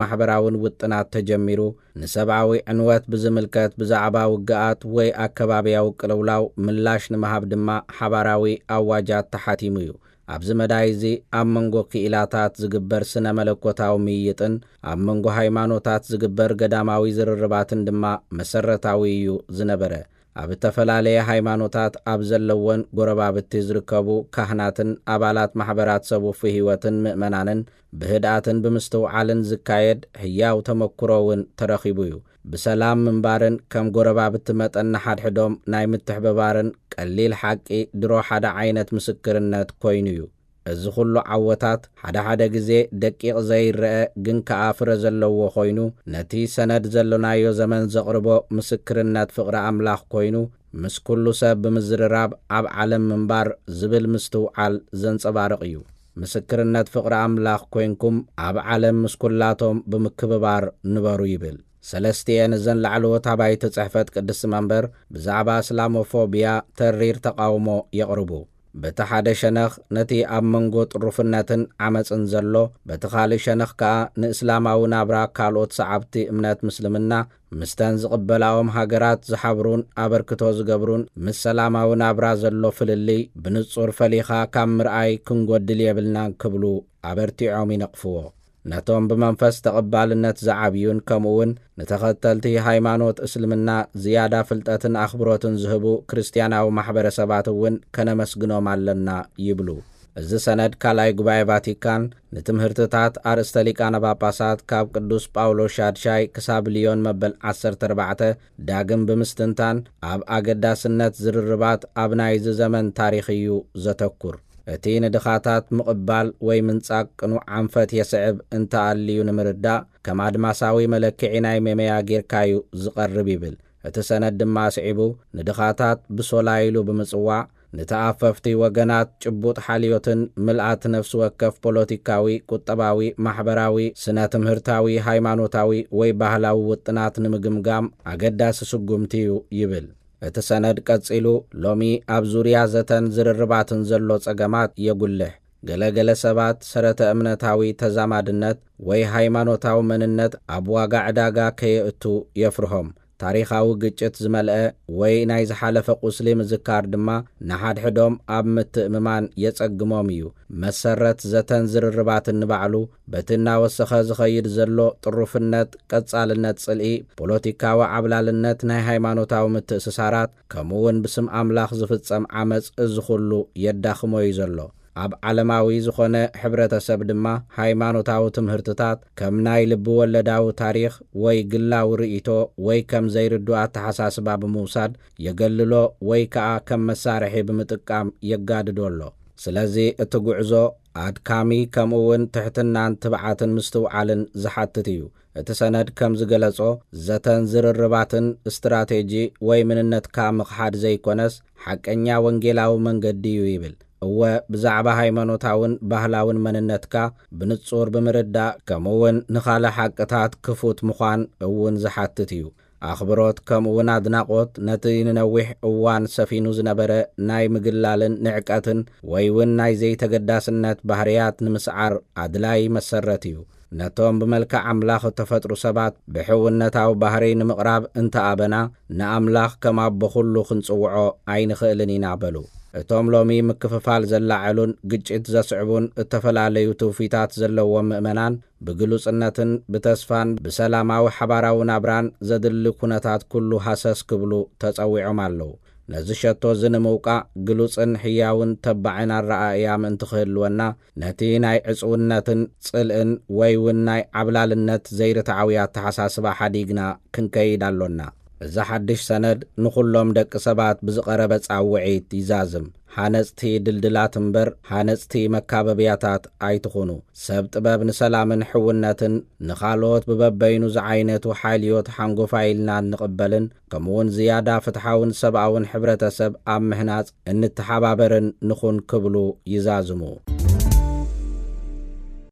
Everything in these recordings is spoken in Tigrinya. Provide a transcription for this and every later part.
ማሕበራውን ውጥናት ተጀሚሩ፣ ንሰብኣዊ ዕንወት ብዝምልከት ብዛዕባ ውግኣት ወይ ኣከባብያዊ ቅልውላው ምላሽ ንምሃብ ድማ ሓባራዊ ኣዋጃት ተሓቲሙ እዩ። ኣብዚ መዳይ እዚ ኣብ መንጎ ክኢላታት ዝግበር ስነ መለኮታዊ ምይይጥን ኣብ መንጎ ሃይማኖታት ዝግበር ገዳማዊ ዝርርባትን ድማ መሰረታዊ እዩ ዝነበረ። ኣብ እተፈላለየ ሃይማኖታት ኣብ ዘለወን ጎረባብቲ ዝርከቡ ካህናትን ኣባላት ማሕበራት ሰብ ውፉይ ህይወትን ምእመናንን ብህድኣትን ብምስትውዓልን ዝካየድ ህያው ተመክሮ እውን ተረኺቡ እዩ። ብሰላም ምንባርን ከም ጎረባብቲ መጠን ንሓድሕዶም ናይ ምትሕብባርን ቀሊል ሓቂ ድሮ ሓደ ዓይነት ምስክርነት ኮይኑ እዩ። እዚ ኩሉ ዓወታት ሓደ ሓደ ግዜ ደቂቕ ዘይረአ ግን ከኣ ፍረ ዘለዎ ኮይኑ፣ ነቲ ሰነድ ዘሎናዮ ዘመን ዘቕርቦ ምስክርነት ፍቕሪ ኣምላኽ ኮይኑ፣ ምስ ኩሉ ሰብ ብምዝርራብ ኣብ ዓለም ምንባር ዝብል ምስትውዓል ዘንጸባርቕ እዩ። ምስክርነት ፍቕሪ ኣምላኽ ኮይንኩም ኣብ ዓለም ምስ ኩላቶም ብምክብባር ንበሩ ይብል። ሰለስቲኤን እዘን ላዕለዎት ኣባይቲ ጽሕፈት ቅድስቲ መንበር ብዛዕባ እስላሞፎብያ ተሪር ተቓውሞ የቕርቡ። በቲ ሓደ ሸነኽ ነቲ ኣብ መንጎ ጥሩፍነትን ዓመጽን ዘሎ፣ በቲ ካልእ ሸነኽ ከኣ ንእስላማዊ ናብራ ካልኦት ሰዓብቲ እምነት ምስልምና ምስተን ዝቕበላኦም ሃገራት ዝሓብሩን ኣበርክቶ ዝገብሩን ምስ ሰላማዊ ናብራ ዘሎ ፍልልይ ብንጹር ፈሊኻ ካብ ምርኣይ ክንጎድል የብልናን ክብሉ ኣበርቲዖም ይነቕፍዎ። ነቶም ብመንፈስ ተቐባልነት ዝዓብዩን ከምኡውን ንተኸተልቲ ሃይማኖት እስልምና ዝያዳ ፍልጠትን ኣኽብሮትን ዝህቡ ክርስትያናዊ ማሕበረሰባት እውን ከነመስግኖም ኣለና ይብሉ። እዚ ሰነድ ካልኣይ ጉባኤ ቫቲካን ንትምህርትታት ኣርእስተ ሊቃነ ጳጳሳት ካብ ቅዱስ ጳውሎስ ሻድሻይ ክሳብ ልዮን መበል ዓሰርተ ኣርባዕተ ዳግም ብምስትንታን ኣብ ኣገዳስነት ዝርርባት ኣብ ናይዚ ዘመን ታሪኽ እዩ ዘተኩር። እቲ ንድኻታት ምቕባል ወይ ምንጻግ ቅኑዕ ኣንፈት የስዕብ እንተኣልዩ ንምርዳእ ከም ኣድማሳዊ መለክዒ ናይ ሜመያ ጌርካዩ ዝቐርብ ይብል። እቲ ሰነድ ድማ ኣስዒቡ ንድኻታት ብሶላ ኢሉ ብምጽዋዕ ንተኣፈፍቲ ወገናት ጭቡጥ ሓልዮትን ምልኣት ነፍሲ ወከፍ ፖለቲካዊ፣ ቁጠባዊ፣ ማሕበራዊ፣ ስነ ትምህርታዊ፣ ሃይማኖታዊ ወይ ባህላዊ ውጥናት ንምግምጋም ኣገዳሲ ስጉምቲ እዩ ይብል። እቲ ሰነድ ቀጺሉ ሎሚ ኣብ ዙርያ ዘተን ዝርርባትን ዘሎ ጸገማት የጉልሕ። ገለ ገለ ሰባት ሰረተ እምነታዊ ተዛማድነት ወይ ሃይማኖታዊ መንነት ኣብ ዋጋ ዕዳጋ ከየእቱ የፍርሆም። ታሪኻዊ ግጭት ዝመልአ ወይ ናይ ዝሓለፈ ቁስሊ ምዝካር ድማ ንሓድሕዶም ኣብ ምትእምማን የጸግሞም እዩ። መሰረት ዘተን ዝርርባትን ንባዕሉ በቲ እናወሰኸ ዝኸይድ ዘሎ ጥሩፍነት፣ ቀጻልነት ጽልኢ፣ ፖለቲካዊ ዓብላልነት፣ ናይ ሃይማኖታዊ ምትእስሳራት ከምኡውን ብስም ኣምላኽ ዝፍጸም ዓመጽ እዚ ኩሉ የዳኽሞ እዩ ዘሎ። ኣብ ዓለማዊ ዝኾነ ሕብረተሰብ ድማ ሃይማኖታዊ ትምህርትታት ከም ናይ ልቢ ወለዳዊ ታሪኽ ወይ ግላዊ ርእይቶ ወይ ከም ዘይርዱ ኣተሓሳስባ ብምውሳድ የገልሎ ወይ ከኣ ከም መሳርሒ ብምጥቃም የጋድዶ ኣሎ። ስለዚ እቲ ጉዕዞ ኣድካሚ ከምኡ እውን ትሕትናን ትብዓትን ምስትውዓልን ዝሓትት እዩ። እቲ ሰነድ ከም ዝገለጾ ዘተን ዝርርባትን ስትራቴጂ ወይ ምንነትካ ምኽሓድ ዘይኮነስ ሓቀኛ ወንጌላዊ መንገዲ እዩ ይብል። እወ ብዛዕባ ሃይማኖታውን ባህላውን መንነትካ ብንጹር ብምርዳእ ከምኡ እውን ንኻልእ ሓቅታት ክፉት ምዃን እውን ዝሓትት እዩ። ኣኽብሮት ከምኡ እውን ኣድናቖት ነቲ ንነዊሕ እዋን ሰፊኑ ዝነበረ ናይ ምግላልን ንዕቀትን ወይ እውን ናይ ዘይተገዳስነት ባህርያት ንምስዓር ኣድላይ መሰረት እዩ። ነቶም ብመልክዕ ኣምላኽ እተፈጥሩ ሰባት ብሕውነታዊ ባህርይ ንምቕራብ እንተኣበና ንኣምላኽ ከም ኣቦ ኩሉ ክንጽውዖ ኣይንኽእልን ኢና በሉ። እቶም ሎሚ ምክፍፋል ዘላዐሉን ግጭት ዘስዕቡን እተፈላለዩ ትውፊታት ዘለዎም ምእመናን ብግሉጽነትን ብተስፋን ብሰላማዊ ሓባራዊ ናብራን ዘድሊ ኩነታት ኩሉ ሃሰስ ክብሉ ተጸዊዖም ኣለዉ። ነዚ ሸቶ እዚ ንምውቃዕ ግሉጽን ሕያውን ተባዕን ኣረኣእያ ምእንቲ ክህልወና ነቲ ናይ ዕጽውነትን ጽልእን ወይ እውን ናይ ዓብላልነት ዘይርትዓዊ ኣተሓሳስባ ሓዲግና ክንከይድ ኣሎና። እዚ ሓድሽ ሰነድ ንኹሎም ደቂ ሰባት ብዝቐረበ ጻውዒት ይዛዝም። ሃነጽቲ ድልድላት እምበር ሃነጽቲ መካበብያታት ኣይትኹኑ። ሰብ ጥበብ ንሰላምን ሕውነትን ንኻልኦት ብበበይኑ ዝዓይነቱ ሓይልዮት ሓንጎፋይ ኢልና እንቕበልን ከምኡውን ዝያዳ ፍትሓውን ሰብኣውን ሕብረተሰብ ኣብ ምህናጽ እንተሓባበርን ንኹን ክብሉ ይዛዝሙ።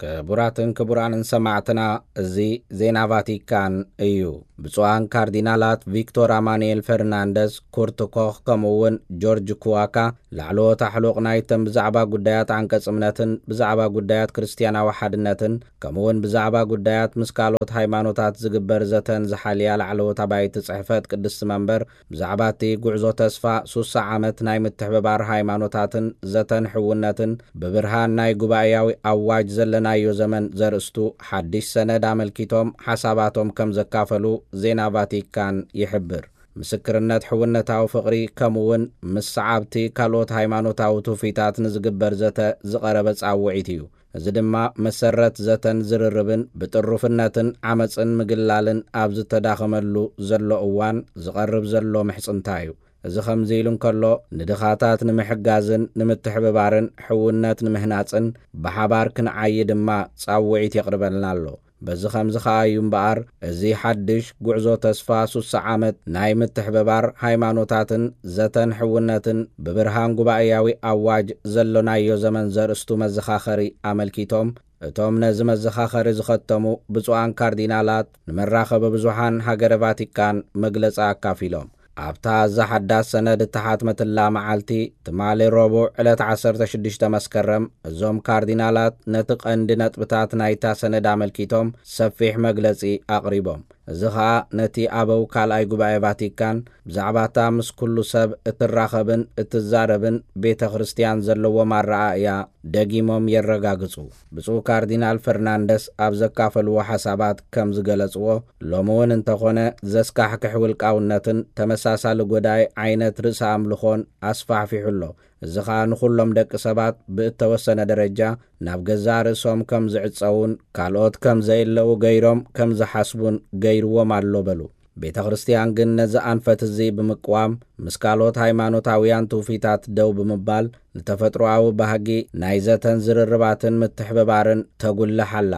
ክቡራትን ክቡራንን ሰማዕትና፣ እዚ ዜና ቫቲካን እዩ። ብፁዓን ካርዲናላት ቪክቶር ኣማኑኤል ፈርናንደስ፣ ኩርት ኮኽ ከምኡ እውን ጆርጅ ኩዋካ ላዕለዎት ኣሕሉቕ ናይተን ብዛዕባ ጉዳያት ዓንቀጽ እምነትን ብዛዕባ ጉዳያት ክርስትያናዊ ሓድነትን ከምኡውን ብዛዕባ ጉዳያት ምስ ካልኦት ሃይማኖታት ዝግበር ዘተን ዝሓልያ ላዕለዎት ኣባይቲ ጽሕፈት ቅድስቲ መንበር፣ ብዛዕባ እቲ ጉዕዞ ተስፋ ሱሳ ዓመት ናይ ምትሕብባር ሃይማኖታትን ዘተን ሕውነትን ብብርሃን ናይ ጉባኤያዊ ኣዋጅ ዘለናዮ ዘመን ዘርእስቱ ሓድሽ ሰነድ ኣመልኪቶም ሓሳባቶም ከም ዘካፈሉ ዜና ቫቲካን ይሕብር። ምስክርነት ሕውነታዊ ፍቕሪ ከምኡውን ምስ ሰዓብቲ ካልኦት ሃይማኖታዊ ትውፊታት ንዝግበር ዘተ ዝቐረበ ጻውዒት እዩ። እዚ ድማ መሰረት ዘተን ዝርርብን ብጥሩፍነትን ዓመጽን ምግላልን ኣብ ዝተዳኸመሉ ዘሎ እዋን ዝቐርብ ዘሎ ምሕጽንታ እዩ። እዚ ከምዚ ኢሉ እንከሎ፣ ንድኻታት ንምሕጋዝን ንምትሕብባርን ሕውነት ንምህናጽን ብሓባር ክንዓዪ ድማ ጻውዒት የቕርበልና ኣሎ። በዚ ከምዚ ኸኣ እዩ እምበኣር፣ እዚ ሓድሽ ጉዕዞ ተስፋ ሱሳ ዓመት ናይ ምትሕብባር ሃይማኖታትን ዘተን ሕውነትን ብብርሃን ጉባኤያዊ ኣዋጅ ዘሎናዮ ዘመን ዘርእስቱ መዘኻኸሪ ኣመልኪቶም፣ እቶም ነዚ መዘኻኸሪ ዝኸተሙ ብፁዓን ካርዲናላት ንመራኸቢ ብዙሓን ሃገረ ቫቲካን መግለጺ ኣካፊሎም። ኣብታ እዛ ሓዳስ ሰነድ እተሓትመትላ መዓልቲ፣ ትማሊ ረቡዕ ዕለት ዓሰርተ ሽዱሽተ መስከረም፣ እዞም ካርዲናላት ነቲ ቀንዲ ነጥብታት ናይታ ሰነድ ኣመልኪቶም ሰፊሕ መግለጺ ኣቕሪቦም። እዚ ኸኣ ነቲ ኣበው ካልኣይ ጉባኤ ቫቲካን ብዛዕባታ ምስ ኩሉ ሰብ እትራኸብን እትዛረብን ቤተ ክርስትያን ዘለዎም ኣረኣእያ ደጊሞም የረጋግጹ። ብፁዕ ካርዲናል ፈርናንደስ ኣብ ዘካፈልዎ ሓሳባት ከም ዝገለጽዎ፣ ሎሚ እውን እንተኾነ ዘስካሕክሕ ውልቃውነትን ተመሳሳሊ ጎዳኢ ዓይነት ርእሰ ኣምልኾን ኣስፋሕፊሑ ኣሎ። እዚ ኸኣ ንኹሎም ደቂ ሰባት ብእተወሰነ ደረጃ ናብ ገዛእ ርእሶም ከም ዝዕጸዉን ካልኦት ከም ዘየለዉ ገይሮም ከም ዝሓስቡን ገይርዎም ኣሎ በሉ። ቤተ ክርስትያን ግን ነዚ ኣንፈት እዚ ብምቅዋም ምስ ካልኦት ሃይማኖታውያን ትውፊታት ደው ብምባል ንተፈጥሮኣዊ ባህጊ ናይ ዘተን ዝርርባትን ምትሕብባርን ተጉልሕ ኣላ።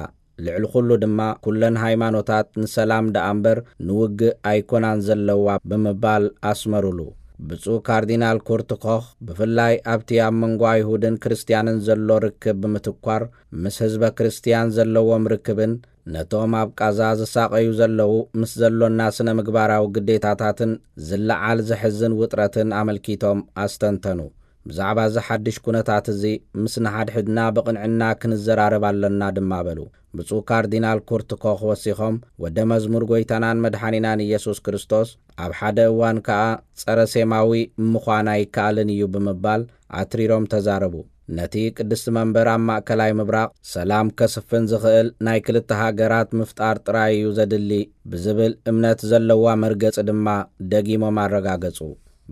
ልዕሊ ኩሉ ድማ ኩለን ሃይማኖታት ንሰላም ደኣ እምበር ንውግእ ኣይኮናን ዘለዋ ብምባል ኣስመሩሉ። ብፁዕ ካርዲናል ኩርት ኮኽ ብፍላይ ኣብቲ ኣብ መንጎ ኣይሁድን ክርስትያንን ዘሎ ርክብ ብምትኳር፣ ምስ ህዝበ ክርስትያን ዘለዎም ርክብን ነቶም ኣብ ቃዛ ዝሳቐዩ ዘለዉ ምስ ዘሎና ስነ ምግባራዊ ግዴታታትን ዝለዓል ዘሕዝን ውጥረትን ኣመልኪቶም ኣስተንተኑ። ብዛዕባ እዚ ሓድሽ ኩነታት እዚ ምስ ንሓድሕድና ብቕንዕና ክንዘራረብ ኣለና ድማ በሉ። ብፁዕ ካርዲናል ኩርት ኮኽ ወሲኾም፣ ወደ መዝሙር ጐይታናን መድሓኒናን ኢየሱስ ክርስቶስ ኣብ ሓደ እዋን ከኣ ጸረ ሴማዊ ምዃን ኣይከኣልን እዩ ብምባል ኣትሪሮም ተዛረቡ። ነቲ ቅድስቲ መንበር ኣብ ማእከላይ ምብራቕ ሰላም ከስፍን ዝኽእል ናይ ክልተ ሃገራት ምፍጣር ጥራይ እዩ ዘድሊ ብዝብል እምነት ዘለዋ መርገጺ ድማ ደጊሞም ኣረጋገጹ።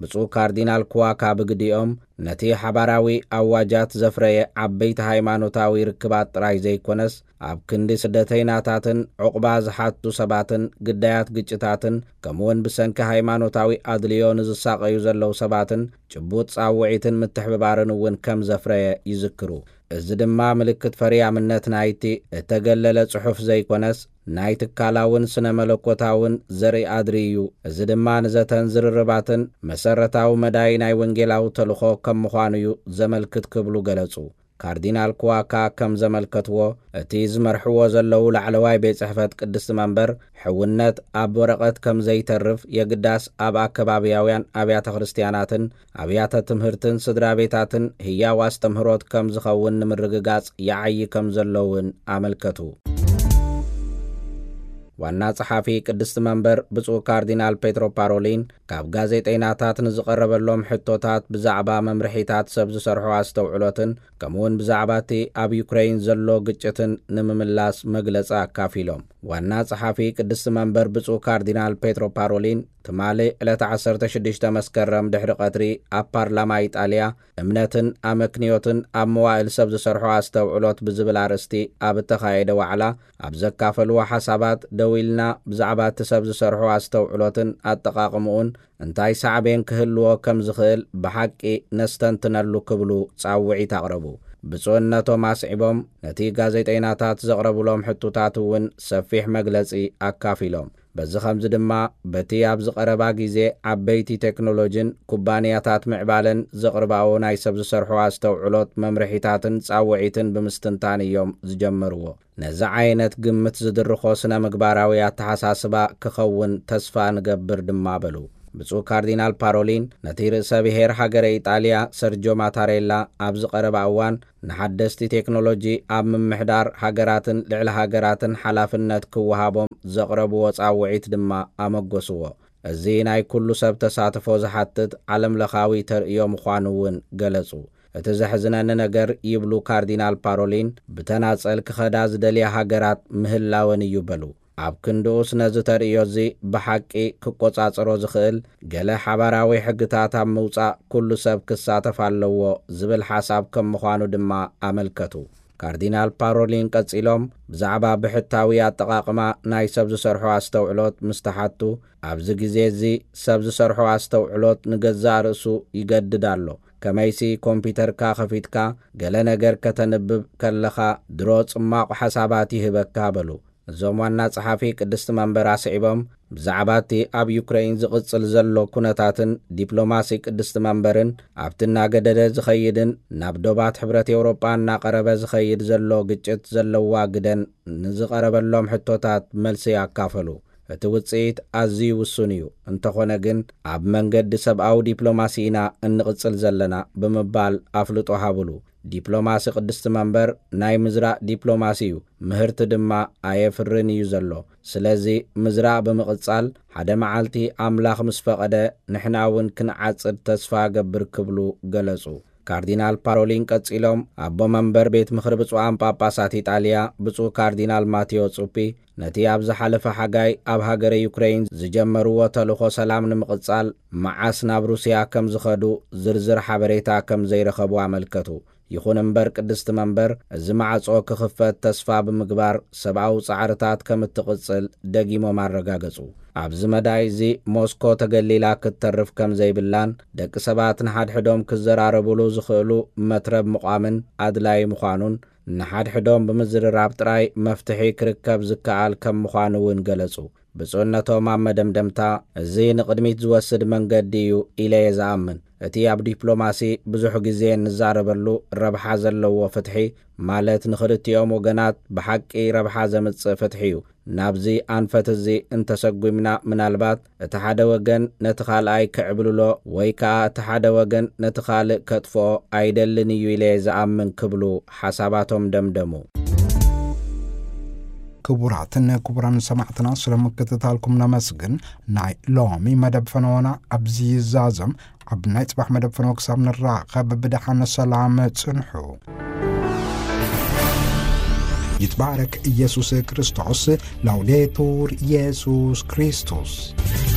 ብፁዕ ካርዲናል ኩዋካ ብግዲኦም፣ ነቲ ሓባራዊ ኣዋጃት ዘፍረየ ዓበይቲ ሃይማኖታዊ ርክባት ጥራይ ዘይኮነስ፣ ኣብ ክንዲ ስደተይናታትን ዑቕባ ዝሓቱ ሰባትን ግዳያት ግጭታትን፣ ከምኡውን ብሰንኪ ሃይማኖታዊ ኣድልዮ ንዝሳቐዩ ዘለዉ ሰባትን ጭቡጥ ጻውዒትን ምትሕብባርን እውን ከም ዘፍረየ ይዝክሩ። እዚ ድማ ምልክት ፈሪያምነት ናይቲ እተገለለ ጽሑፍ ዘይኮነስ፣ ናይ ትካላውን ስነ መለኮታውን ዘርኢ ኣድሪ እዩ። እዚ ድማ ንዘተን ዝርርባትን መሰረታዊ መዳይ ናይ ወንጌላዊ ተልኾ ከም ምዃኑ እዩ ዘመልክት ክብሉ ገለጹ። ካርዲናል ኩዋካ ከም ዘመልከትዎ፣ እቲ ዝመርሕዎ ዘለዉ ላዕለዋይ ቤት ጽሕፈት ቅድስቲ መንበር፣ ሕውነት ኣብ ወረቐት ከም ዘይተርፍ፣ የግዳስ ኣብ ኣከባብያውያን ኣብያተ ክርስትያናትን ኣብያተ ትምህርትን ስድራ ቤታትን ህያው ኣስተምህሮት ከም ዝኸውን ንምርግጋጽ ይዓዪ ከም ዘሎ እውን ኣመልከቱ። ዋና ጸሓፊ ቅድስቲ መንበር ብፁዕ ካርዲናል ፔትሮ ፓሮሊን፣ ካብ ጋዜጠይናታት ንዝቐረበሎም ሕቶታት ብዛዕባ መምርሒታት ሰብ ዝሰርሖ ኣስተውዕሎትን ከምኡውን ብዛዕባ እቲ ኣብ ዩክረይን ዘሎ ግጭትን ንምምላስ መግለጺ ኣካፊሎም። ዋና ጸሓፊ ቅድስቲ መንበር ብፁዕ ካርዲናል ፔትሮ ፓሮሊን፣ ትማሊ ዕለት ዓሰርተ ሽዱሽተ መስከረም ድሕሪ ቀትሪ ኣብ ፓርላማ ኢጣልያ፣ እምነትን ኣመክንዮትን ኣብ መዋእል ሰብ ዝሰርሖ ኣስተውዕሎት ብዝብል ኣርእስቲ ኣብ እተኻየደ ዋዕላ ኣብ ዘካፈልዎ ሓሳባት፣ ደው ኢልና ብዛዕባ እቲ ሰብ ዝሰርሖ ኣስተውዕሎትን ኣጠቓቕምኡን እንታይ ሳዕቤን ክህልዎ ከም ዝኽእል ብሓቂ ነስተንትነሉ ክብሉ ጻውዒት ኣቕረቡ። ብፁዕነቶም ኣስዒቦም፣ ነቲ ጋዜጠይናታት ዘቕረቡሎም ሕቶታት እውን ሰፊሕ መግለጺ ኣካፊሎም። በዚ ኸምዚ ድማ፣ በቲ ኣብዚ ቐረባ ግዜ ዓበይቲ ቴክኖሎጅን ኩባንያታት ምዕባለን ዘቕርባኦ ናይ ሰብ ዝሰርሖ ኣስተውዕሎት መምርሒታትን ጻውዒትን ብምስትንታን እዮም ዝጀመርዎ። ነዚ ዓይነት ግምት ዝድርኾ ስነ ምግባራዊ ኣተሓሳስባ ክኸውን ተስፋ ንገብር ድማ በሉ። ብፁዕ ካርዲናል ፓሮሊን ነቲ ርእሰ ብሔር ሃገረ ኢጣልያ ሰርጆ ማታሬላ ኣብ ዝቐረባ እዋን ንሓደስቲ ቴክኖሎጂ ኣብ ምምሕዳር ሃገራትን ልዕሊ ሃገራትን ሓላፍነት ክወሃቦም ዘቕረብዎ ጻውዒት ድማ ኣመጎስዎ። እዚ ናይ ኩሉ ሰብ ተሳትፎ ዝሓትት ዓለምለኻዊ ተርእዮ ምዃኑ እውን ገለጹ። እቲ ዘሕዝነኒ ነገር፣ ይብሉ ካርዲናል ፓሮሊን፣ ብተናጸል ክኸዳ ዝደልያ ሃገራት ምህላወን እዩ በሉ። ኣብ ክንድኡስ ነዚ ተርእዮ እዚ ብሓቂ ክቆጻጸሮ ዝኽእል ገለ ሓባራዊ ሕግታት ኣብ ምውጻእ ኩሉ ሰብ ክሳተፍ ኣለዎ ዝብል ሓሳብ ከም ምዃኑ ድማ ኣመልከቱ። ካርዲናል ፓሮሊን ቀጺሎም ብዛዕባ ብሕታዊ ኣጠቓቕማ ናይ ሰብ ዝሰርሖ ኣስተውዕሎት ምስ ተሓቱ፣ ኣብዚ ግዜ እዚ ሰብ ዝሰርሖ ኣስተውዕሎት ንገዛእ ርእሱ ይገድድ ኣሎ። ከመይሲ ኮምፒተርካ ከፊትካ ገለ ነገር ከተንብብ ከለኻ ድሮ ጽማቑ ሓሳባት ይህበካ በሉ። እዞም ዋና ጸሓፊ ቅድስቲ መንበር ኣስዒቦም ብዛዕባ እቲ ኣብ ዩክረይን ዝቕጽል ዘሎ ኩነታትን ዲፕሎማሲ ቅድስቲ መንበርን ኣብቲ እናገደደ ዝኸይድን ናብ ዶባት ሕብረት ኤውሮጳ እናቐረበ ዝኸይድ ዘሎ ግጭት ዘለዋ ግደን ንዝቐረበሎም ሕቶታት መልሲ ኣካፈሉ። እቲ ውጽኢት ኣዝዩ ውሱን እዩ፣ እንተኾነ ግን ኣብ መንገዲ ሰብኣዊ ዲፕሎማሲ ኢና እንቕጽል ዘለና ብምባል ኣፍልጦ ሃብሉ። ዲፕሎማሲ ቅድስቲ መንበር ናይ ምዝራእ ዲፕሎማሲ እዩ፣ ምህርቲ ድማ ኣየፍርን እዩ ዘሎ። ስለዚ ምዝራእ ብምቕጻል ሓደ መዓልቲ ኣምላኽ ምስ ፈቐደ ንሕና እውን ክንዓጽድ ተስፋ እገብር ክብሉ ገለጹ። ካርዲናል ፓሮሊን ቀጺሎም ኣቦ መንበር ቤት ምኽሪ ብፁዓን ጳጳሳት ኢጣልያ ብፁዕ ካርዲናል ማቴዎ ጹፒ ነቲ ኣብ ዝሓለፈ ሓጋይ ኣብ ሃገረ ዩክረይን ዝጀመርዎ ተልእኾ ሰላም ንምቕጻል መዓስ ናብ ሩስያ ከም ዝኸዱ ዝርዝር ሓበሬታ ከም ዘይረኸቡ ኣመልከቱ። ይኹን እምበር ቅድስቲ መንበር እዚ ማዕጾ ክኽፈት ተስፋ ብምግባር ሰብኣዊ ጻዕርታት ከም እትቕጽል ደጊሞም ኣረጋገጹ። ኣብዚ መዳይ እዚ ሞስኮ ተገሊላ ክትተርፍ ከም ዘይብላን ደቂ ሰባት ንሓድሕዶም ክዘራረቡሉ ዝኽእሉ መትረብ ምቋምን ኣድላዪ ምዃኑን ንሓድሕዶም ብምዝርራብ ጥራይ መፍትሒ ክርከብ ዝከኣል ከም ምዃኑ እውን ገለጹ። ብፁዕነቶም ኣብ መደምደምታ፣ እዚ ንቕድሚት ዝወስድ መንገዲ እዩ ኢለ እየ ዝኣምን። እቲ ኣብ ዲፕሎማሲ ብዙሕ ግዜ እንዛረበሉ ረብሓ ዘለዎ ፍትሒ፣ ማለት ንኽልቲኦም ወገናት ብሓቂ ረብሓ ዘምጽእ ፍትሒ እዩ። ናብዚ ኣንፈት እዚ እንተሰጉምና፣ ምናልባት እቲ ሓደ ወገን ነቲ ካልኣይ ክዕብልሎ ወይ ከኣ እቲ ሓደ ወገን ነቲ ካልእ ከጥፍኦ ኣይደልን እዩ ኢለ እየ ዝኣምን ክብሉ ሓሳባቶም ደምደሙ። ክቡራትን ክቡራን ሰማዕትና፣ ስለ ምክትታልኩም ነመስግን። ናይ ሎሚ መደብ ፈነወና ኣብዚ ይዛዘም። ኣብ ናይ ጽባሕ መደብ ፈነወ ክሳብ ንራኸብ ብደሓን ሰላም ጽንሑ። ይትባረክ ኢየሱስ ክርስቶስ። ላውዴቱር ኢየሱስ ክርስቶስ።